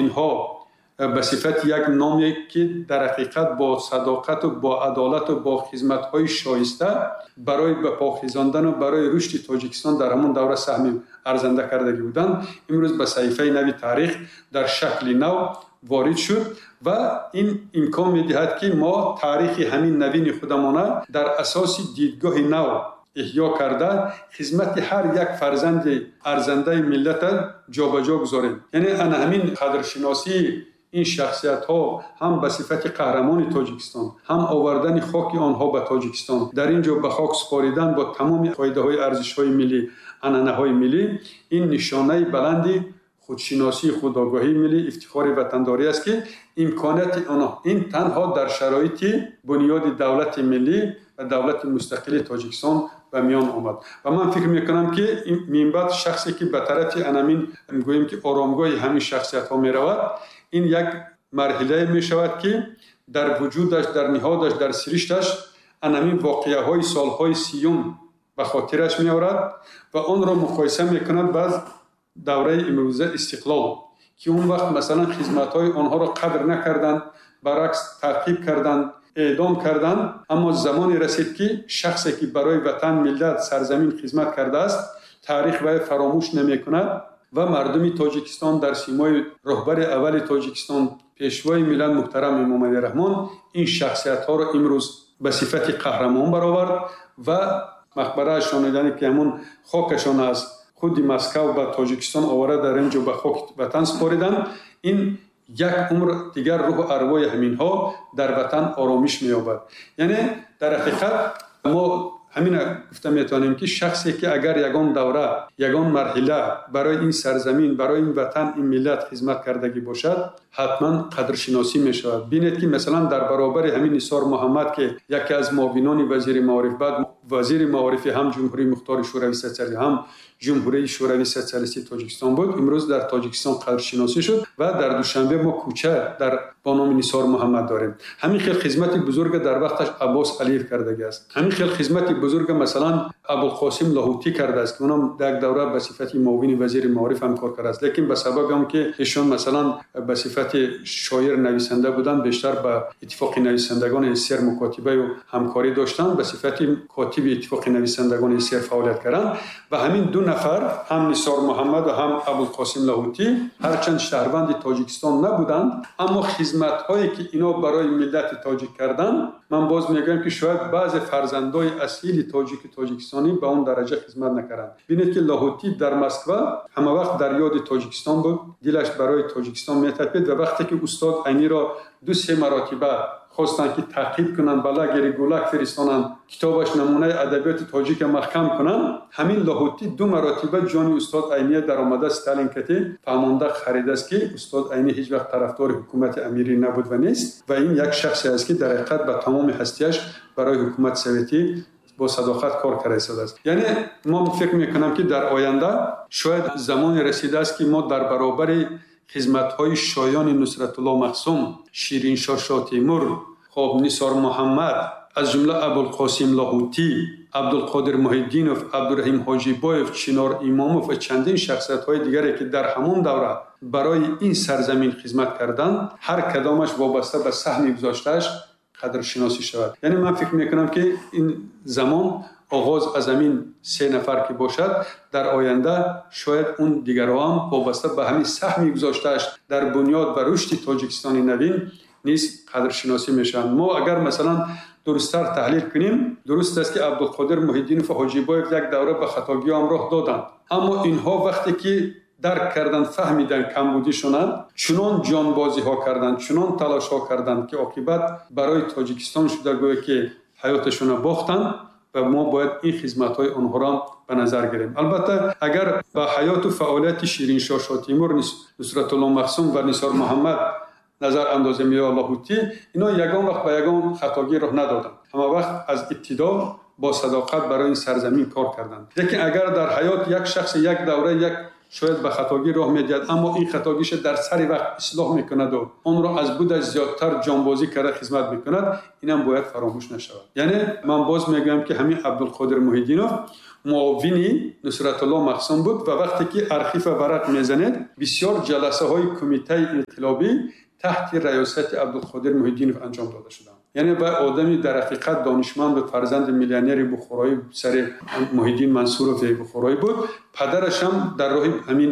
инҳо ба сифати як номе ки дар ҳақиқат бо садоқату бо адолату бо хизматҳои шоиста барои ба по хезондану барои рушди Тоҷикистон дар ҳамон давра саҳми арзанда кардагӣ буданд, имрӯз ба саҳифаи нави таърих дар шакли нав ворид шуд ва ин имкон медиҳад, ки мо таърихи ҳамин навини худамона дар асоси дидгоҳи нав эҳё карда, хизмати ҳар як фарзанди арзандаи миллата ҷобаҷо гузорем. Яъне ана ҳамин қадршиносии ин шахсиятҳо ҳам ба сифати қаҳрамони Тоҷикистон, ҳам овардани хоки онҳо ба Тоҷикистон, дар ин ҷо ба хок супоридан бо тамоми қоидаҳои арзишҳои миллӣ, анъанаҳои миллӣ, ин нишонаи баланди худшиносии худогоҳии миллӣ, ифтихори ватандорӣ аст, ки имконияти онҳо ин танҳо дар шароити бунёди давлати миллӣ ва давлати мустақили Тоҷикистон ба миён омад. Ва ман фикр мекунам, ки минбаъд шахсе ки ба тарафи анамин, гӯем ки оромгоҳи ҳамин шахсиятҳо меравад, ин як марҳилае мешавад, ки дар вуҷудаш, дар ниҳодаш, дар сиришташ анамин воқеаҳои солҳои 30 ба хотираш меорад ва онро муқоиса мекунад ба давраи имрӯза истиқлол, ки он вақт масалан хизматҳои онҳоро қадр накарданд, баръакс таъқиб карданд, эъдом карданд. Аммо замоне расид, ки шахсе ки барои ватан, миллат, сарзамин хизмат кардааст, таърих вай фаромӯш намекунад ва мардуми Тоҷикистон дар симои роҳбари аввали Тоҷикистон, пешвои миллат муҳтарам Эмомалӣ Раҳмон ин шахсиятҳоро имрӯз ба сифати қаҳрамон баровард ва мақбараашон, яъне ки ҳамон хокашон аз худи Москав ба Тоҷикистон оварда, дар ин ҷо ба хоки ватан супориданд. Ин як умр дигар рӯҳу арвои ҳаминҳо дар ватан оромиш меёбад. Яъне дар ҳақиқат мо ҳамина гуфта метавонем, ки шахсе ки агар ягон давра, ягон марҳила барои ин сарзамин, барои ин ватан, ин миллат хизмат кардагӣ бошад, ҳатман қадршиносӣ мешавад. Бинед, ки масалан дар баробари ҳамин Нисор Муҳаммад, ки яке аз муовинони вазири маориф, баъд вазири маорифи ҳам Ҷумҳурии Мухтори Шӯравии Сотсиалистӣ, ҳам Ҷумҳурии Шӯравии Сотсиалистии Тоҷикистон буд, имрӯз дар Тоҷикистон қадршиносӣ шуд ва дар Душанбе мо кӯча дар бо номи Нисор Муҳаммад дорем. Ҳамин хел хизмати бузурга дар вақташ Аббос Алиев кардагиаст. Ҳамин хел хизмати бузурга масалан Абулқосим Лоҳутӣ кардааст, ки онам як давра ба сифати муовини вазири маориф ҳам кор кардааст, лекин ба сабаби он ки эшон масалан ба сифати шоир нависанда буданд, бештар ба Иттифоқи нависандагони СССР мукотибаю ҳамкорӣ доштанд, ба сифати котиби Иттифоқи нависандагони СССР фаъолият карданд. Ва ҳамин ду нафар, ҳам Нисор Муҳаммад ва ҳам Абулқосим Лоҳутӣ, ҳарчанд шаҳрванди Тоҷикистон набуданд, аммо хизматҳое ки ино барои миллати тоҷик карданд, ман боз мегӯям, ки шояд баъзе фарзандои асили тоҷики тоҷикистонӣ ба он дараҷа хизмат накарданд. Бинед, ки Лоҳутӣ дар Москва ҳама вақт дар ёди Тоҷикистон буд, дилаш барои Тоҷикистон метапид ва вақте ки устод Айниро 2-3 маротиба хостанд, ки таъқиб кунанд, ба лагери ГУЛАГ фиристонанд, китобаш намунаи адабиёти тоҷика маҳкам кунанд, ҳамин Лоҳутӣ 2 маротиба ҷони устод Айния даромада Сталин кати фаҳмонда харидааст, ки устод Айнӣ ҳеҷ вақт тарафдори ҳукумати амирӣ набуд ва нест ва ин як шахсе аст, ки дар ҳақиқат ба тамоми ҳастияш барои ҳукумати советӣ бо садоқат кор карда истодааст. Яъне мо фикр мекунам, ки дар оянда шояд замоне расидааст, ки мо дар баробари хизматҳои шоёни Нусратулло Махсум, Шириншоҳ Шотимур, Нисор Муҳаммад, аз ҷумла Абулқосим Лоҳутӣ, Абдулқодир Муҳиддинов, Абдураҳим Ҳоҷибоев, Чинор Имомов ва чандин шахсиятҳои дигаре, ки дар ҳамон давра барои ин сарзамин хизмат карданд, ҳар кадомаш вобаста ба саҳми гузоштааш қадршиносӣ шавад. Яъне ман фикр мекунам, ки ин замон оғоз аз ҳамин 3 нафар ки бошад, дар оянда шояд он дигарҳо ҳам вобаста ба ҳамин саҳми гузоштааш дар бунёд ва рушди Тоҷикистони навин низ қадршиносӣ мешаванд. Мо агар масалан дурусттар таҳлил кунем, дуруст аст, ки Абдулқодир Муҳиддинов ва Ҳоҷибоев як давра ба хатогиҳо ҳам роҳ доданд, аммо инҳо вақте ки дарк карданд, фаҳмиданд камбудишонанд, чунон ҷонбозиҳо карданд, чунон талошҳо карданд, ки оқибат барои Тоҷикистон шуда гӯё ки ҳаёташонро бохтанд ва мо бояд ин хизматҳои онҳоро ба назар гирем. Албатта, агар ба ҳаёту фаъолияти Шириншоҳ Шотимур, Нусратулло Махсум ва Нисор Муҳаммад назар андозем ё Лоҳутӣ, ино ягон вақт ба ягон хатогӣ роҳ надоданд. Ҳама вақт аз ибтидо бо садоқат барои ин сарзамин кор карданд. Лекин агар дар ҳаёт як шахс як давра як шояд ба хатогӣ роҳ медиҳад, аммо ин хатогиша дар сари вақт ислоҳ мекунаду онро аз будаш зиёдтар ҷонбозӣ карда хизмат мекунад, инам бояд фаромӯш нашавад. Яъне ман боз мегӯям, ки ҳамин Абдулқодир Муҳиддинов муовини Нусратулло Махсум буд ва вақте ки архива варақ мезанед, бисёр ҷаласаҳои кумитаи инқилобӣ таҳти раёсати Абдулқодир Муҳиддинов анҷом дода шуданд. Яъне ба одами дар ҳақиқат донишманд буд, фарзанди миллионери бухороӣ, писари Муҳиддин Мансуров бухороӣ буд. Падараш ҳам дар роҳи ҳамин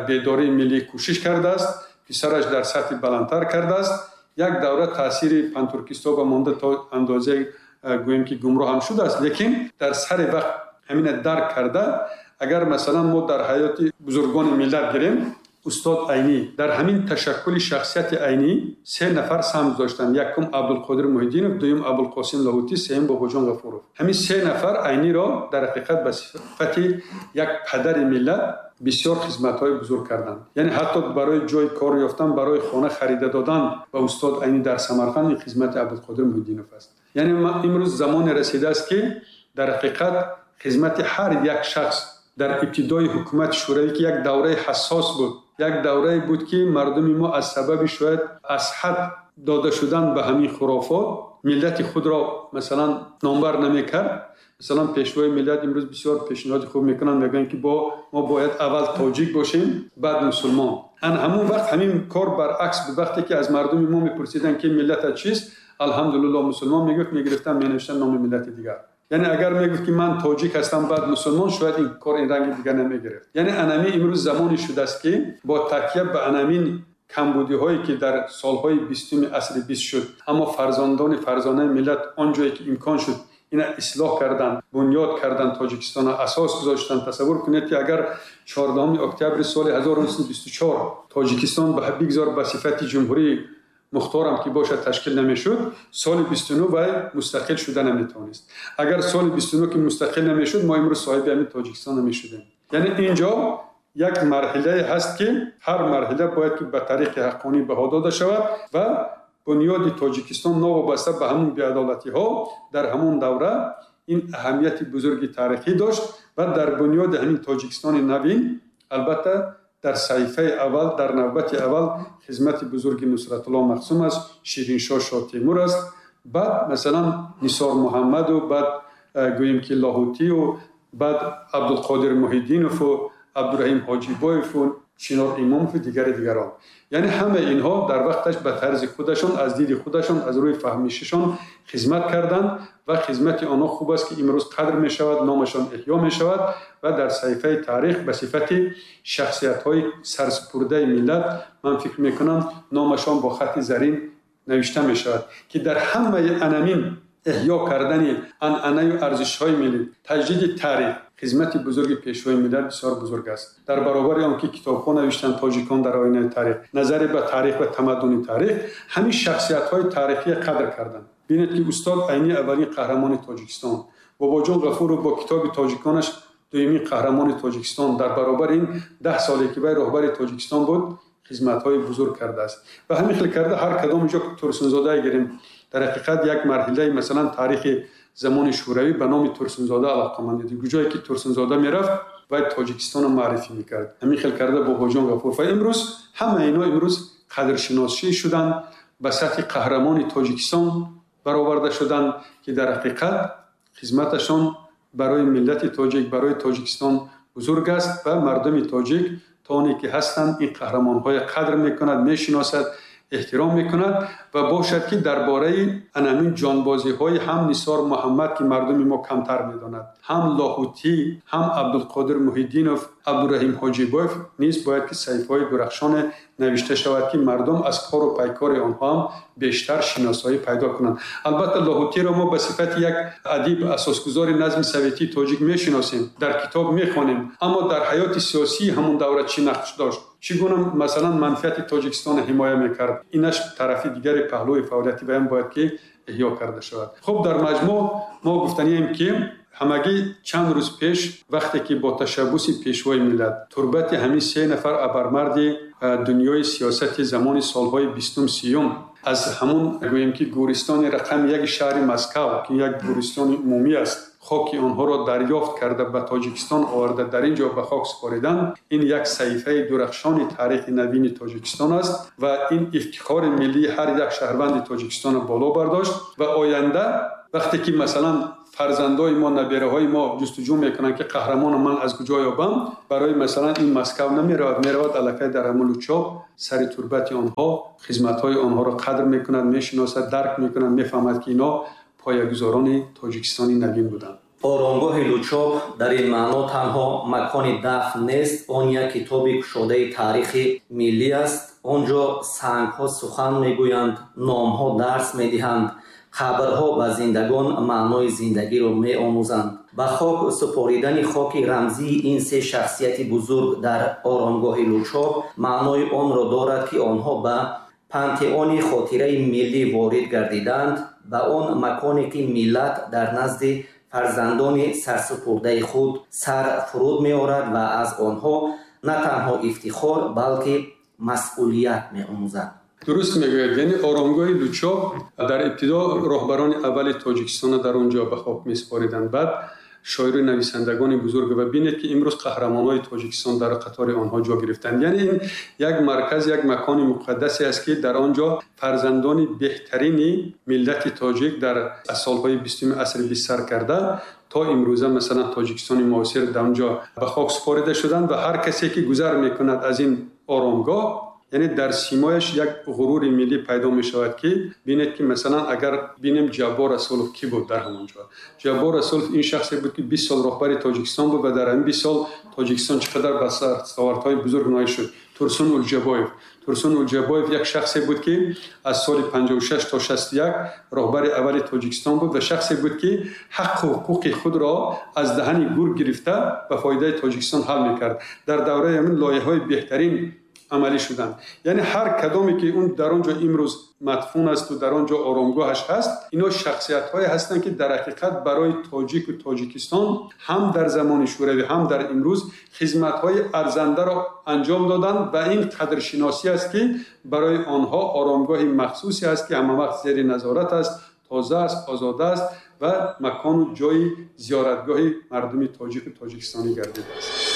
бедории миллӣ кӯшиш кардааст, писараш дар сатҳи баландтар кардааст. Як давра таъсири пантуркистҳо ба монда то андозае гӯем ки гумроҳ ҳам шудааст, лекин дар сари вақт ҳамина дарк карда, агар масалан мо дар ҳаёти бузургони миллат гирем, устод Айнӣ дар ҳамин ташаккули шахсияти Айнӣ се нафар саҳм гузоштанд. Якум Абдулқодир Муҳиддинов, дуюм Абулқосим Лоҳутӣ, сеюм Бобоҷон Ғафуров. Ҳамин се нафар Айниро дар ҳақиқат ба сифати як падари миллат бисёр хизматҳои бузург карданд. Яъне ҳатто барои ҷои кор ёфтан, барои хона харида додан ба устод Айнӣ дар Самарқанд ин хизмати Абдулқодир Муҳиддинов аст. Яъне имрӯз замоне расидааст, ки дар ҳақиқат хизмати ҳар як шахс дар ибтидои ҳукумати Шӯравӣ, ки як давраи ҳассос буд, як даврае буд, ки мардуми мо аз сабаби шояд аз ҳад дода шудан ба ҳамин хурофот миллати худро масалан номбар намекард. Масалан пешвои миллат имрӯз бисёр пешниҳоди хуб мекунанд, мегӯянд ки мо бояд аввал тоҷик бошем, баъд мусулмон. Ан ҳамон вақт ҳамин кор баръакс буд. Вақте ки аз мардуми мо мепурсиданд, ки миллатат чист, алҳамдулиллоҳ мусулмон мегуфт, мегирифтанд, менавиштанд номи миллати дигар. Яъне агар мегуфт, ки ман тоҷик ҳастам, баъд мусулмон, шояд ин кор ин ранги дигар намегирифт. Яъне анами имрӯз замоне шудааст, ки бо такя ба анамин камбудиҳое, ки дар солҳои 20-уми асри 20 шуд, аммо фарзандони фарзонаи миллат он ҷое ки имкон шуд, ина ислоҳ карданд, бунёд карданд, Тоҷикистонро асос гузоштанд. Тасаввур кунед, ки агар 14 октябри соли 1924 Тоҷикистон бигзор ба сифати ҷумҳурии мухторам ки бошад ташкил намешуд, соли 29 вай мустақил шуда наметавонист. Агар соли 29 ки мустақил намешуд, мо имрӯз соҳиби ҳамин Тоҷикистон намешудем. Яъне инҷо як марҳилае ҳаст, ки ҳар марҳила бояд ки ба тариқи ҳаққонӣ баҳо дода шавад ва бунёди Тоҷикистон новобаста ба ҳамун беадолатиҳо дар ҳамон давра ин аҳамияти бузурги таърихӣ дошт ва дар бунёди ҳамин Тоҷикистони навин албатта дар саҳифаи аввал, дар навбати аввал хизмати бузурги Нусратулло Махсум аст, Шириншоҳ Шоҳтемур аст, баъд масалан Нисор Муҳаммаду, баъд гӯем ки Лоҳутию, баъд Абдулқодир Муҳиддинову Абдураҳим Ҳоҷибоеву Чинор Имомову дигари дигарон. Яъне ҳамаи инҳо дар вақташ ба тарзи худашон, аз диди худашон, аз рӯи фаҳмишашон хизмат карданд ва хизмати онҳо хуб аст, ки имрӯз қадр мешавад, номашон эҳё мешавад ва дар саҳифаи таърих ба сифати шахсиятҳои сарсупурдаи миллат, ман фикр мекунам, номашон бо хати зарин навишта мешавад, ки дар ҳамаи анамин эҳё кардани анъанаю арзишҳои миллӣ, таҷдиди таърих хизмати бузурги пешвои миллат бисёр бузург аст. Дар баробари он ки китобҳо навиштанд тоҷикон дар оинаи таърих, назаре ба таърих ва тамаддуни таърих, ҳамин шахсиятҳои таърихие қадр карданд. Бинед, ки устод Айнӣ аввалин қаҳрамони Тоҷикистон, Бобоҷон Ғафуров бо китоби тоҷиконаш дуюмин қаҳрамони Тоҷикистон. Дар баробари ин 10 соле ки вай роҳбари Тоҷикистон буд, хизматҳои бузург кардааст. Ва ҳамин хел карда ҳар кадом ҷо Турсунзодае гирем, дар ҳақиқат як марҳилаи масалан таърихи замони Шӯравӣ ба номи Турсунзода алоқаманд дид. Куҷое ки Турсунзода мерафт, вай Тоҷикистонро муаррифӣ мекард. Ҳамин хел карда Бобоҷон Ғафуров. Ва имрӯз ҳама ино имрӯз қадршиносӣ шуданд, ба сатҳи қаҳрамони Тоҷикистон бароварда шуданд, ки дар ҳақиқат хизматашон барои миллати тоҷик, барои Тоҷикистон бузург аст ва мардуми тоҷик то оне ки ҳастанд ин қаҳрамонҳоя қадр мекунад, мешиносад, эҳтиром мекунад. Ва бошад, ки дар бораи анамин ҷонбозиҳои ҳам Нисор Муҳаммад, ки мардуми мо камтар медонад, ҳам Лоҳутӣ, ҳам Абдулқодир Муҳиддинов, Абдураҳим Ҳоҷибоев низ бояд ки саҳифаҳои дурахшоне навишта шавад, ки мардум аз кору пайкори онҳо ҳам бештар шиносоӣ пайдо кунанд. Албатта Лоҳутиро мо ба сифати як адиб, асосгузори назми советии тоҷик мешиносем, дар китоб мехонем, аммо дар ҳаёти сиёсии ҳамон давра чӣ нақш дошт, чӣ гуна масалан манфиати Тоҷикистонро ҳимоя мекард, инаш тарафи дигари паҳлӯи фаъолияти ваям бояд ки эҳё карда шавад. Хуб, дар маҷмӯъ мо гуфтанием, ки ҳамагӣ чанд рӯз пеш, вақте ки бо ташаббуси пешвои миллат турбати ҳамин се нафар абармарди дунёи сиёсати замони солҳои 20-ум, 30-ум аз ҳамун гӯем ки гӯристони рақами яки шаҳри Москав, ки як гӯристони умумӣ аст, хоки онҳоро дарёфт карда ба Тоҷикистон оварда дар ин ҷо ба хок супориданд, ин як саҳифаи дурахшони таърихи навини Тоҷикистон аст ва ин ифтихори миллии ҳар як шаҳрванди Тоҷикистонро боло бардошт. Ва оянда вақте ки масалан Фарзандои мо, набераҳои мо ҷустуҷӯ мекунанд, ки қаҳрамони ман аз куҷо ёбам. Барои масалан ин Москва намеравад, меравад аллакай дар ҳамон Лучоб, сари турбати онҳо, хизматҳои онҳоро қадр мекунад, мешиносад, дарк мекунад, мефаҳмад, ки инҳо поягузорони Тоҷикистони навин буданд. Оромгоҳи Лучоб дар ин маъно танҳо макони дафн нест, он як китоби кушодаи таърихи миллӣ аст. Он ҷо сангҳо сухан мегӯянд, номҳо дарс медиҳанд, қабрҳо ба зиндагон маънои зиндагиро меомӯзанд. Ба хок супоридани хоки рамзии ин се шахсияти бузург дар оромгоҳи Лучоб маънои онро дорад, ки онҳо ба пантеони хотираи миллӣ ворид гардиданд, ба он маконе, ки миллат дар назди фарзандони сарсупурдаи худ сар фуруд меорад ва аз онҳо на танҳо ифтихор, балки масъулият меомӯзад. Дуруст мегӯяд. Яъне оромгоҳи Лучоб дар ибтидо роҳбарони аввали Тоҷикистонро дар он ҷо ба хок месупориданд, баъд шоиру нависандагони бузург, ва бинед, ки имрӯз қаҳрамонҳои Тоҷикистон дар қатори онҳо ҷо гирифтанд. Яъне ин як марказ, як макони муқаддасе аст, ки дар он ҷо фарзандони беҳтарини миллати тоҷик дар аз солҳои 20-уми асри бист сар карда то имрӯза, масалан, Тоҷикистони муосир, дар он ҷо ба хок супорида шуданд. Ва ҳар касе ки гузар мекунад аз ин оромгоҳ, яъне дар симояш як ғурури миллӣ пайдо мешавад, ки бинед, ки масалан агар бинем, Ҷаббор Расулов кӣ буд дар ҳамон ҷо? Ҷаббор Расулов ин шахсе буд, ки 20 сол роҳбари Тоҷикистон буд ва дар ҳамин 20 сол Тоҷикистон чӣ қадар ба дастовардҳои бузург ноил шуд. Турсун Улҷабоев. Турсун Улҷабоев як шахсе буд, ки аз соли 56 то 61 роҳбари аввали Тоҷикистон буд ва шахсе буд, ки ҳаққу ҳуқуқи худро аз даҳани гург гирифта ба фоидаи Тоҷикистон ҳал мекард. Дар давраи ҳамин лоиҳаҳои беҳтарин амалӣ шуданд. Яъне ҳар кадоме, ки он дар он ҷо имрӯз мадфун асту дар он ҷо оромгоҳаш ҳаст, ино шахсиятҳое ҳастанд, ки дар ҳақиқат барои тоҷику Тоҷикистон ҳам дар замони Шӯравӣ, ҳам дар имрӯз хизматҳои арзандаро анҷом доданд. Ва ин қадршиносӣ аст, ки барои онҳо оромгоҳи махсусе аст, ки ҳамавақт зери назорат аст, тоза аст, озода аст ва макону ҷои зиёратгоҳи мардуми тоҷику тоҷикистонӣ гардидааст.